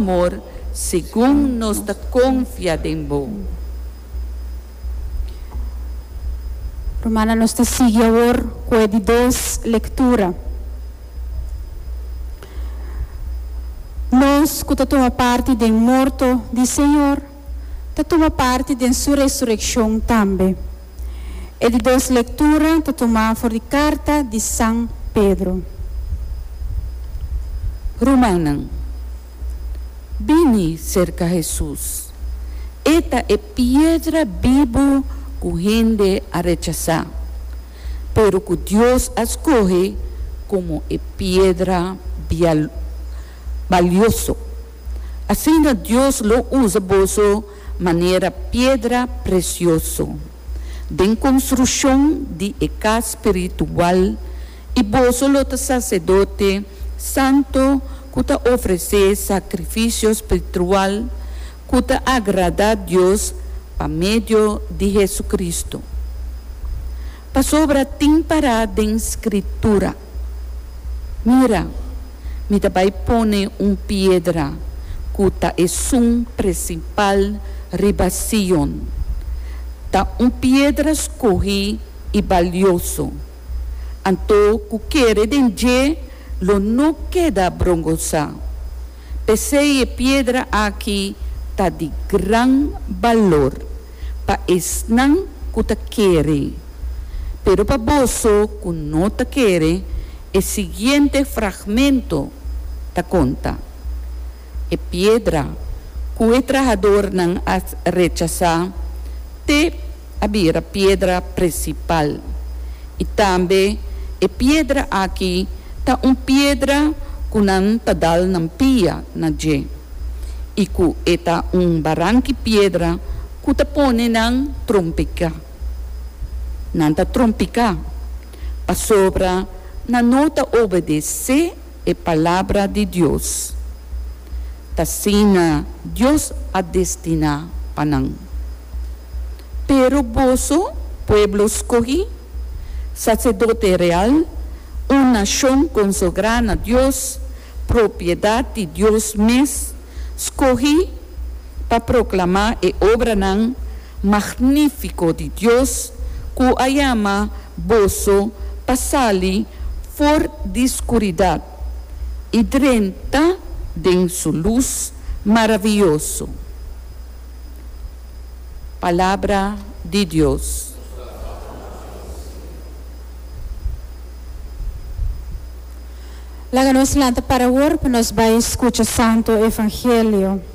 Amor segun nos ta konfia den bo. Rumannan, nos ta sigui awor ku e di dos lektura. Nos ku ta tuma parti den morto di Señor, ta tuma parti den Su resurekshon tambe. E di dos lektura ta tumá for di karta di San Pedro. Rumannan, bini serka Hesus. E ta e piedra bibu ku hende a rechasá, pero ku Dios a skohe komo e piedra balioso. Asina Dios lo usa boso manera piedra presioso den konstrukshon di e kas spiritual i boso lo ta saserdote santo ku ta ofresé sakrifisio spiritual ku ta agradá Dios pa medio di Hesukristu. Pasobra tin pará den Skritura, Mira, mi ta bai pone un piedra ku ta esun prinsipal riba Sion. Ta un piedra skohí i balioso. Anto ku kere den dje lo no keda brongosá. P'esei e piedra aki ta di gran balor pa esnan ku ta kere. Pero pa boso ku no ta kere, E siguiente fragmento ta konta, E piedra ku e trahadornan a rechasá te a bira piedra prinsipal, i tambe e piedra aki ta un piedra ku nan ta dal nan pia na dje, i ku e ta un barank'i piedra ku ta pone nan trompiká. Nan ta trompiká. Pasobra nan no ta obedesé e palabra di Dios. T'asina Dios a destiná pa nan. Pero boso, pueblo skohí, saserdote real, un nashon konsagrá na Dios, propiedat di Dios mes, skohí pa proklamá e obranan magnífiko di Dios ku a yama boso pa sali for di skuridat i drenta den su lus maravioso. Palabra di Dios. Laga nos lanta para awor pa nos bai skucha Santo Evangelio.